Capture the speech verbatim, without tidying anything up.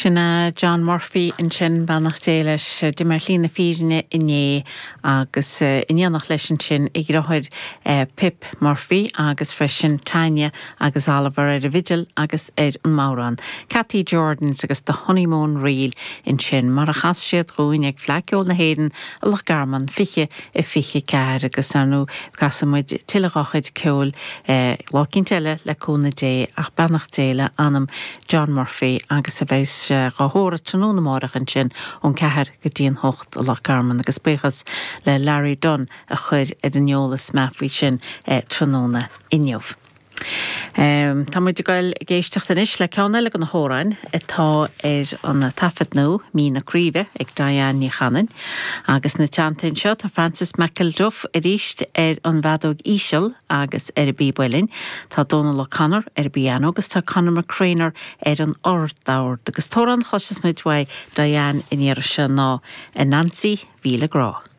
Sin é John Murphy ansin beannacht Dé leis d'imigh ar shlí na fírinne inné agus in éineacht leis ansin a dheartháir Pip Murphy agus freisin Tanya agus Oliver ar an bhfidil agus ar an mbodhrán. Cathy Jordans agus the Honeymoon Reel ansin mar a chas siad dúinn ag Fleadh Cheoil na hÉireann i Loch Garman fiche a fiche ceathair agus ar ndóigh casfaimid tuilleadh dá chuid ceoil lá éicint eile le cúnamh Dé ach beannacht Dé le anam John Murphy agus a bheas sé á thórramh tráthnóna amárach ansin ón ceathair go dtí an hocht i Loch Garman agus buíochas le Larry Dunn a chuir ar an eolas mé faoi sin tráthnóna inniu. Um, tá muid ag dul ag éisteacht anois le ceann eile de na hamhráin atá ar an taifead nua Mí na Craoibhe ag Diane Ní Chanainn, agus ina teannta anseo tá Francis McElduff arís ar an bhfeadóg íseal agus ar an bpíb uilleann, Tá Donal O'Connor ar an bpianó agus tá Conor McCreanor ar an ardord agus an t-amhrán a chloisfidh muid uaidh Diane an iarraidh seo ná Anansi Mhíle Grá.